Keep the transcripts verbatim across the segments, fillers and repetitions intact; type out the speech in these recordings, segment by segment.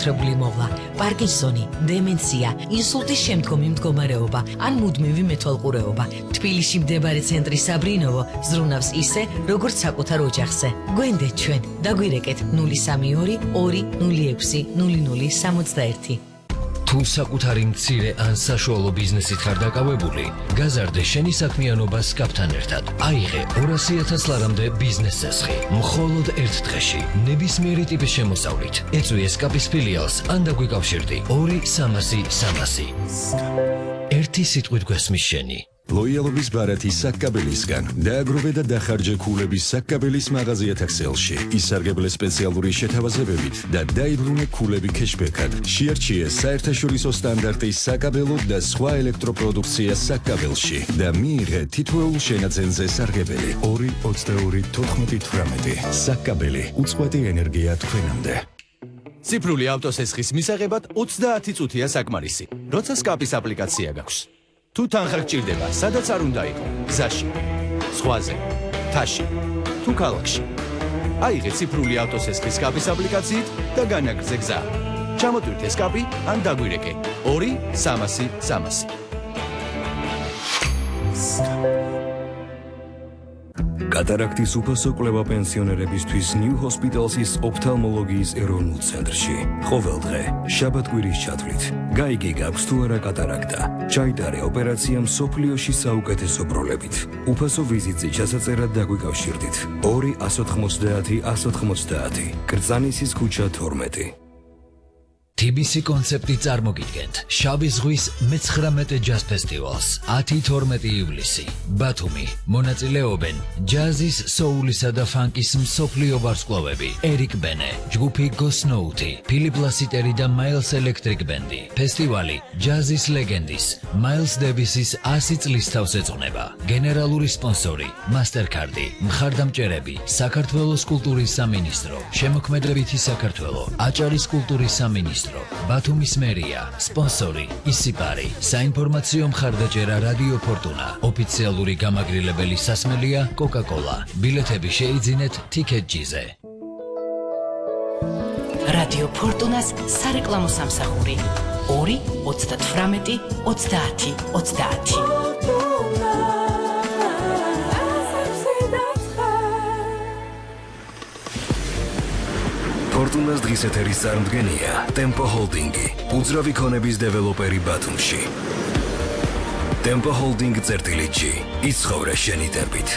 განსაკუთრებული მოვლა, პარკინსონი, დემენცია, ინსულტის შემდგომი მდგომარეობა ან მუდმივი მეთვალყურეობა. თბილისში მდებარე ცენტრი საბრინოვო ზრუნავს ისე, როგორც საკუთარ ოჯახზე. გვენდეთ ჩვენ, დაგვირეკეთ ნული სამი ორი ორი ნული ექვსი ნული ნული სამოცდაერთი. თუ საკუთარი მცირე ან საშუალო ბიზნესით ხარ დაკავებული, გაზარდე შენი საქმიანობა სკაფთან ერთად. აიღე ორასი ათას ლარამდე ბიზნეს ზესხი. მხოლოდ ერთ დღეში, ნებისმიერი ტიპის შემოსავლით. ეწვი სკაფის ფილიალს ან დაგვიკავშირდი ორი სამასი სამასი. ერთი სიტყვით გვესმის შენი. ლოიალობის ბარათი საკკაბელისგან დააგროვე და დახარჯე ქულების საკკაბელის მაღაზიათა ქსელში. ისარგებლე სპეციალური შეთავაზებებით და დაიბრუნე ქულები ქეშბექად. შეარჩიე საერთაშორისო სტანდარტის საკაბელო და სხვა ელექტროპროდუქცია საკკაბელში და მიიღე თითოეულ შენაძენზე სარგებელი. ორი ოცდაორი თოთხმეტი თვრამეტი. საკკაბელი უწყვეტი ენერგია თქვენამდე. ციფრული ავტოსესხის მისაღებად ოცდაათი წუთია საკმარისი. როცა სკაფის აპლიკაცია გაქვს. თუ თანხა გჭირდება, სადაც არ უნდა იყო, გზაში, ზღვაზე, მთაში, თუ ქალაქში. აიღე ციფრული ავტოსესხის სკაფის აპლიკაციით და განაგრძე გზა. ჩამოტვირთე სკაფი ან დაგვირეკე ორი სამასი სამასი. კატარაქტის უფასო კვლევა პენსიონერებისთვის New Hospital's ოფთალმოლოგიის ეროვნულ ცენტრში. ყოველ დღე, შაბათ-კვირის ჩათვლით, გაიგე გაქვს თუ არა კატარაქტა. ჩაიტარე ოპერაცია მსოფლიოში საუკეთესო ბროლებით. უფასო ვიზიტზე ჩასაწერად დაგვიკავშირდით. ორი ათას ოთხმოცდაათი ათას ოთხმოცდაათი. კრწანისის ქუჩა თორმეტი. T B C კონცეპტი წარმოგიდგენთ შავი ზღვის მეცხრამეტე ჯაზ ფესტივალს ათი თორმეტი ივლისი ბათუმი მონაწილეობენ ჯაზის, სოულისა და ფანკის მსოფლიო ვარსკვლავები ერიკ ბენე, ჯგუფი გოსნოუთი, ფილიპ ლასიტერი და მაილს ელექტრიკ ბენდი. ფესტივალი ჯაზის ლეგენდის მაილს დევისის ასი წლის თავს ეძღვნება. გენერალური სპონსორი მასტერკარდი, მხარდამჭერები საქართველოს კულტურის სამინისტრო, შემოქმედებითი საქართველო, აჭარის კულტურის სამინისტრო, ბათუმის მერია, სპონსორი ისიპარი, საინფორმაციო მხარდაჭერა რადიო ფორტუნა, ოფიციალური გამაგრილებელი სასმელია კოკა-კოლა. ბილეთები შეიძინეთ TicketJet-ზე. რადიო ფორტუნას სარეკლამო სამსახური ორი ოცდათვრამეტი ოცდაათი ოცდაათი. ფორტუნას დღის ეთერის წარმდგენია Tempo Holding-ი, უძრავი ქონების დეველოპერი ბათუმში. Tempo Holding წერტილითში იცხოვრე შენი ტერბით.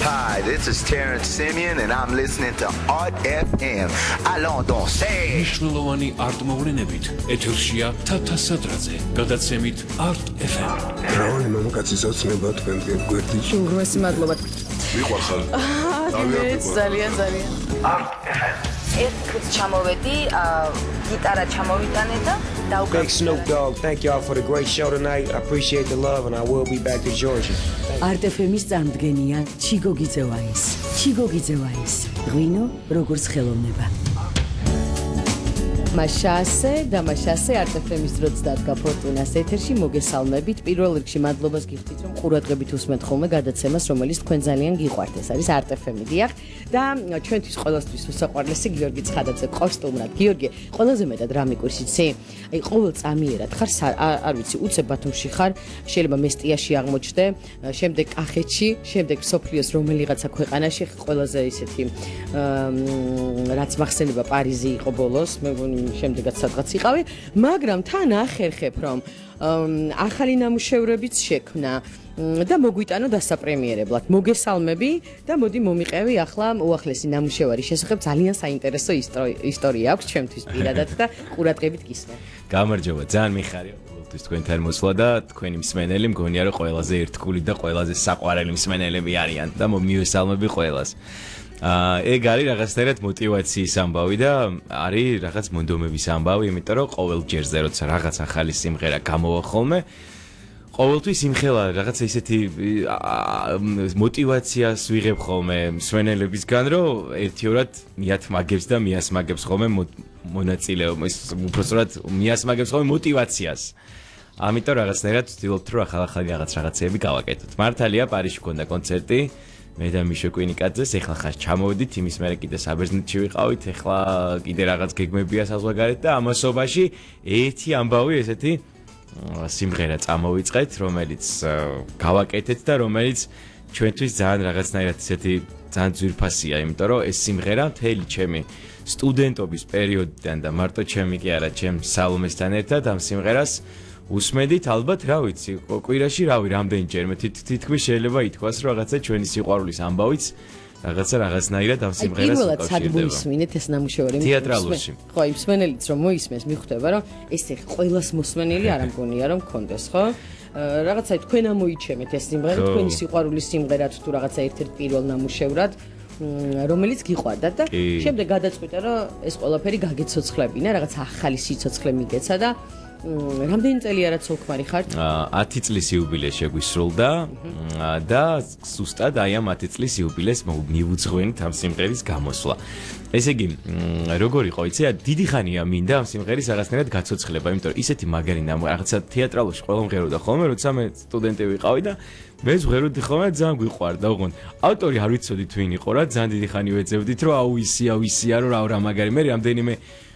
Hi, this is Terrence Simeon and I'm listening to Art F M. Allons danser. მნიშვნელოვანი არტ-მოვლენებით ეთერშია თათა სადრაძე, გადაცემით Art F M. რაონი მამაკაცის ოცნება თქვენგან გვერდით. უგროსი მადლობა. მიყვარხარ. ძალიან ძალიან. Art F M. ერთ წუთს ჩამოვედი, გიტარა ჩამოვიტანე და დავკარგე. Big Snoop Dogg, thank y'all for the great show tonight. I appreciate the love and I will be back to Georgia. Art F M-ის წარმდგენია ჩიგო გიძევაის. ჩიგო გიძევაის. ღვინო როგორც ხელოვნება. მაშასე და მაშასე Art F M-ის დროც დადგა ფორტუნას ეთერში. მოგესალმებით. პირველ რიგში მადლობას გიხდით, რომ ყურადღებით უსმენთ ხოლმე გადაცემას, რომელიც თქვენ ძალიან გიყვართ. ეს არის Art F M-ი, დიახ. და ჩვენთვის ყველასთვის უსაყვარლესი გიორგი ცხადაძე კოსტუმრად. გიორგი, ყველაზე მეტად რა მიყურს იცი? აი ყოველ წამიერად ხარ, არ ვიცი, უცებ ბათუმში ხარ, შეიძლება მესტიაში აღმოჩნდე, შემდეგ კახეთში, შემდეგ სოფლიოს რომელიღაცა ქვეყანაში ყველაზე ისეთი რაც მახსენება პარიზი იყო ბოლოს, მე მგონი შემდეგაც სადღაც იყავი, მაგრამ თან ახერხებ, რომ ახალი ნამუშევრებიც შექმნა და მოგვიტანო დასაპრემიერებლად. მოგესალმები და მოდი მომიყევი ახლა უახლესი ნამუშევარის შესახებ. ძალიან საინტერესო ისტორია აქვს ჩვენთვის პირადად და ყურადღებით გისმენთ. გამარჯობა, ძალიან მიხარია ყოველთვის თქვენთან მოსვლა და თქვენი მსმენელი მგონია რომ ყველაზე ერთგული და ყველაზე საყვარელი მსმენელები არიან და მივესალმები ყველას. აა ეგ არის რაღაცნაირად мотиваციის ამბავი და არის რაღაც მონდომების ამბავი, იმიტომ რომ ყოველ ჯერზე როცა რაღაც ახალი სიმღერა გამოვა ხოლმე, ყოველთვის იმხელა რაღაცა ისეთი мотиваციას ვიღებ ხოლმე მსმენელებისგან, რომ ერთიორად მიათმაგებს და მიასმაგებს ხოლმე მონაწილეობას, უბრალოდ მიასმაგებს ხოლმე мотиваციას. ამიტომ რაღაცნაირად ვცდილობთ რომ ახალ-ახალი რაღაც რაღაცეები გავაკეთოთ. მართალია პარიზში მქონდა კონცერტი. მე და მიშო კვინიკაძეს ეხლა ხარ ჩამოვიდით იმის მერე კიდე საბერძნეთში ვიყავით ეხლა კიდე რაღაც გეგმებია საზღვარგარეთ და ამასობაში ერთი ამბავი ესეთი სიმღერა წამოვიწყეთ რომელიც გავაკეთეთ და რომელიც ჩვენთვის ძალიან რაღაცნაირად ესეთი ძალიან ძვირფასია იმიტომ რომ ეს სიმღერა მთელი ჩემი სტუდენტობის პერიოდიდან და მარტო ჩემი კი არა ჩემ სალომესთან ერთად ამ სიმღერას უსმედით ალბათ რა ვიცი კვირაში რავი რამდენჯერმე თითქმის შეიძლება ითქვას რომ რაღაცა ჩვენი სიყვარულის ამბავიც რაღაცა რაღაცნაირად ამ სიმღერას უკავშირდება. პირველად სად მოისმინეთ ეს ნამუშევარი? თეატრალურში. ხო, იმ მსმენელიც რომ მოისმენს, მიხვდება რომ ეს ყველას მოსმენელი არ ამგონია რომ კონდეს, ხო? რაღაცა თქვენ ამოიჩემეთ ეს სიმღერა, თქვენი სიყვარულის სიმღერა თუ რაღაცა ერთ-ერთ პირველ ნამუშევრად რომელიც გიყვარდათ და შემდეგ გადაწყვიტა რომ ეს ყველაფერი გაგეცოცხლებინა, რაღაცა ახალი სიცოცხლე მიგეცა და რამდენი წელია რაც ოლქმარი ხართ? ათი წლის იუბილეს შეგვისრულდა და ზუსტად აი ამ ათი წლის იუბილეს მივუძღვენით ამ სიმღერის გამოსვლა. ესე იგი, როგორ იყო, იცი, დიდი ხანია მინდა ამ სიმღერის რაღაცნაირად გაცოცხლება, იმიტომ რომ ისეთი მაგარი რაღაცა თეატრალურში ყველა მღეროდა ხოლმე, როცა მე სტუდენტი ვიყავი და მე ვღეროდი ხოლმე ძალიან გვიყვარდა, ოღონდ ავტორი არ ვიცოდით ვინ იყო რა, ძალიან დიდი ხანი ვეძებდით, რომ აუ ისია, ისია, რომ რა მაგარი, მე რამდენიმე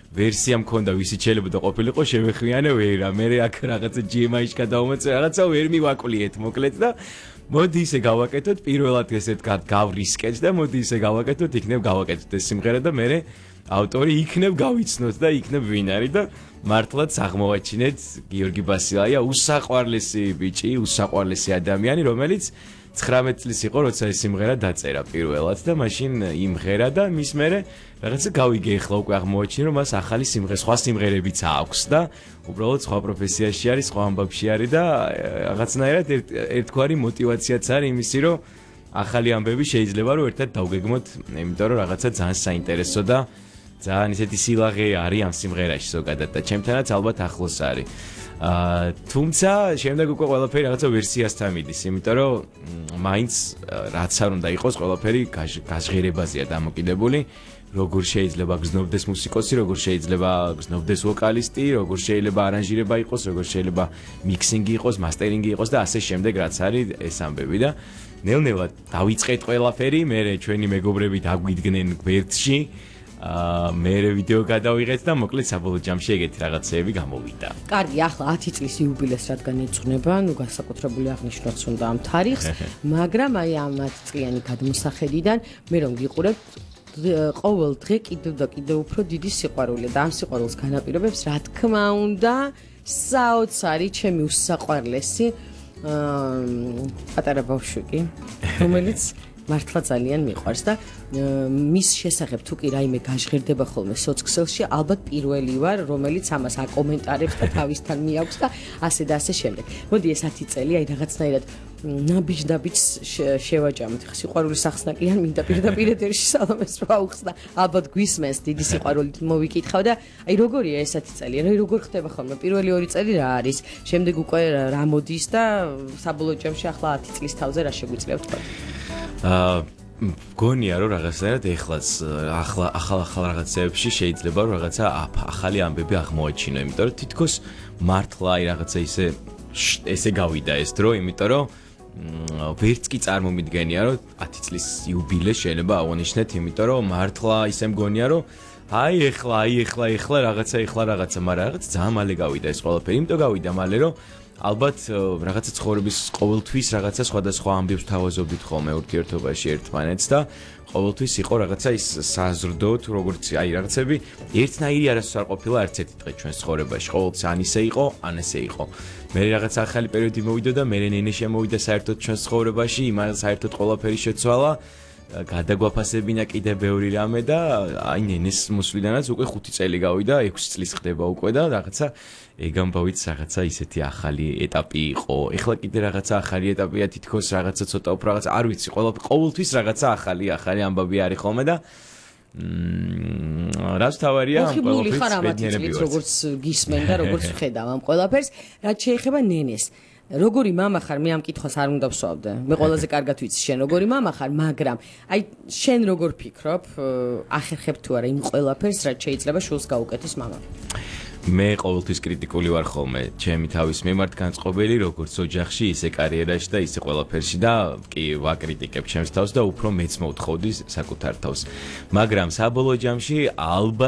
ვერსია მქონდა ვისიც შეიძლება ყოფილიყო შევეხვიანე ვერა მე აქ რაღაცა ჯი ემ აი-ში გადავმოწე რაღაცა ვერ მივაკვლიეთ მოკლედ და მოდი ისე გავაკეთოთ პირველად ესეთ გავრისკეთ და მოდი ისე გავაკეთოთ იქნებ გავაკეთოთ ეს სიმღერა და მე ავტორი იქნებ გავიცნოთ და იქნებ ვინ არის და მართლაც აღმოვაჩინეთ გიორგი ბასილაია უსაყვარლესი ბიჭი უსაყვარლესი ადამიანი რომელიც ცხრამეტ წლის იყო როცა ეს სიმღერა დაწერა პირველად და მაშინ იმღერა და მის მერე რაღაცა გავიგე ახლა უკვე აღმოაჩინე რომ მას ახალი სიმღერა სხვა სიმღერებიც აქვს და უბრალოდ სხვა პროფესიაში არის სხვა ამბავში არის და რაღაცნაირად ერთგვარი мотиваციაც არის იმისი რომ ახალი ამბები შეიძლება რომ ერთად დავგეგმოთ იმიტომ რომ რაღაცა ძალიან საინტერესო და ძალიან ისეთი სილაღე არის ამ სიმღერაში ზოგადად და ჩემთანაც ალბათ ახლოს არის აა თუმცა შემდეგ უკვე ყველაფერი რაღაცა ვერსიასთან მიდის, იმიტომ რომ მაინც რაც არ უნდა იყოს ყველაფერი გაჟღერებაზეა დამოკიდებული, როგორ შეიძლება გზნობდეს მუსიკოსი, როგორ შეიძლება გზნობდეს ვოკალისტი, როგორ შეიძლება არანჟირება იყოს, როგორ შეიძლება მიქსინგი იყოს, მასტერინგი იყოს და ასე შემდეგ რაც არის ეს ამბები და ნელ-ნელა დავიწყეთ ყველაფერი, მე ჩვენი მეგობრები დაგვიდგნენ გვერდში აა მე ვიდეო გადავიღეთ და მოკლედ საბოლოო ჯამში ეგეთი რაღაცეები გამოვიდა. კარგი, ახლა ათი წლის იუბილეს რადგან ეძღვნება, ნუ განსაკუთრებული აღნიშნოთ უნდა ამ თარიღს, მაგრამ აი ამ ათი წლიანი გადმოსახედიდან მე რომ გიყურებთ ყოველ დღე კიდევ და კიდევ უფრო დიდი სიყვარულია და ამ სიყვარულს განაპირობებს რა თქმა უნდა საოცარი ჩემი უსაყვარლესი პატარა ბავშვი, რომელიც მართლა ძალიან მიყვარს და მის შესახებ თუ კი რაიმე გაჟღერდება ხოლმე სოცქსელში, ალბათ პირველი ვარ, რომელიც ამას აკომენტარებს და თავისთან მიაქვს და ასე და ასე შემდეგ. მოდი ეს ათი წელი აი რაღაცნაირად ნაბიჯ-დაბიჯ შევაჭამოთ. სიყვარულის სახსნა კი არ მინდა პირდაპირ ეთერში სალომეს რო აუხსნა. ალბათ გვისმენს დიდი სიყვარულით მოვიკითხავ და აი როგორია ეს ათი წელი? რა როგორ ხდება ხოლმე? პირველი ორი წელი რა არის? შემდეგ უკვე რა მოდის და საბოლოო ჯამში ახლა ათი წლის თავზე რა შეგვიძლია ვთქვა? აა მგონია რომ რაღაცნაირად ეხლაც ახლა ახალ ახალ რაღაცეებში შეიძლება რომ რაღაცა ახალი ამბები აღმოაჩინო, იმიტომ რომ თითქოს მართლა აი რაღაცა ისე ესე გავიდა ეს დრო, იმიტომ რომ ვერც კი წარმომიდგენია რომ ათი წლის იუბილეს შეიძლება აღნიშნეთ, იმიტომ რომ მართლა ისე მგონია რომ აი ეხლა აი ეხლა ეხლა რაღაცა ეხლა რაღაცა, მაგრამ რაღაც ძალიან მალე გავიდა ეს ყველაფერი, იმიტომ გავიდა მალე რომ ალბათ რაღაცა ცხოვრების ყოველთვის რაღაცა სხვადასხვა ამბებს თავაზობდით ხოლმე ურთიერთობაში ერთმანეთს და ყოველთვის იყო რაღაცა ის საზრდო თუ როგორც აი რაღაცები ერთნაირი არასდროს არ ყოფილა არც ერთი დღე ჩვენს ცხოვრებაში ყოველთვის ან ისე იყო ან ესე იყო მე რაღაც ახალი პერიოდი მოვიდა და მე ნენე შემოვიდა საერთოდ ჩვენს ცხოვრებაში იმან საერთოდ ყველაფერი შეცვალა გადაგვაფასებინა კიდე ბევრი რამე და აი ნენეს მოსვლიდანაც უკვე ხუთი წელი გავიდა, ექვსი წლის ხდება უკვე და რაღაცა ეგ ამბავით რაღაცა ისეთი ახალი ეტაპი იყო. ეხლა კიდე რაღაცა ახალი ეტაპია, თითქოს რაღაცა ცოტა უფრო რაღაცა არ ვიცი, ყოველთვის რაღაცა ახალი ახალი ამბავი არის ხოლმე და მმ რაც თავარია ამ ყველაფერს ბედნიერები ვარ. როგორც გისმენ და როგორც ვხედავ ამ ყველაფერს, რაც შეეხება ნენეს. როგორი мама ხარ, მე ამ კითხვას არ უნდა ვსვავდე. მე ყველაზე კარგად ვიცი შენ როგორი мама ხარ, მაგრამ აი შენ როგორ ფიქრობ, ახერხებ თუ არა იმ ყველაფერს, რაც შეიძლება შულს გაუკეთოს мама? მე ყოველთვის კრიტიკული ვარ ხოლმე ჩემი თავის მიმართ განწყობილი როგორც ოჯახში ისე კარიერაში და ისე ყველაფერში და კი ვაკრიტიკებ ჩემს თავს და უფრო მეც მოვთხოვდი საკუთარ თავს მაგრამ საბოლოო ჯამში ალბათ